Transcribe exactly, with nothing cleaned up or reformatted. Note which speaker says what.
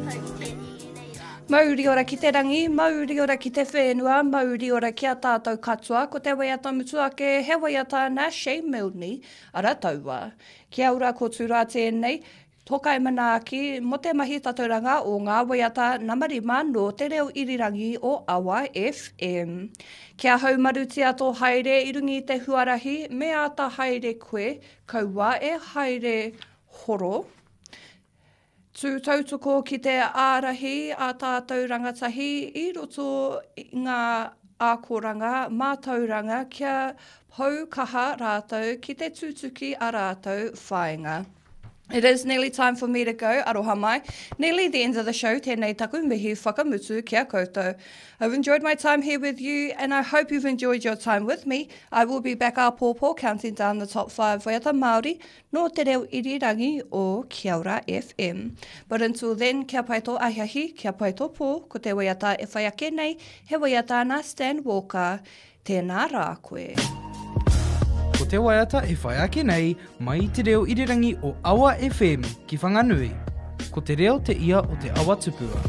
Speaker 1: tātou i te ēnei rā.
Speaker 2: Mauri ora ki te rangi, mauri ora ki te whenua, mauri ora ki a tātou katoa, ko te waiata mutu ake, he waiata nā Shane Milne, ara taua. Kia ora ko Tūrā tēnei, Tokai manaaki mo te mahi tatauranga o ngā waiata nama rima nō te reo irirangi o Awa FM. Kia haumarutia tō haere i runga i te huarahi, me āta haere koe, kaua e haere horo. Tū tautoko ki te ārahi a tātou rangatahi i roto i ngā akoranga mātauranga kia pou kaha rātou ki te tutuki a rātou whāinga. It is nearly time for me to go, aroha mai. Nearly the end of the show, tēnei taku mihi whakamutu kia koutou. I've enjoyed my time here with you and I hope you've enjoyed your time with me. I will be back āpōpō counting down the top five waiata Māori nō te reo irirangi o Kia Ora FM. But until then, kia pai tō ahiahi, kia pai tō pō, ko te waiata e whai ake nei, he waiata nā Stan Walker. Tēnā rā koe.
Speaker 3: Ko te waiata e whai ake nei mai i te reo irirangi o Awa FM ki Whanganui. Ko te reo te ia o te awa tupua.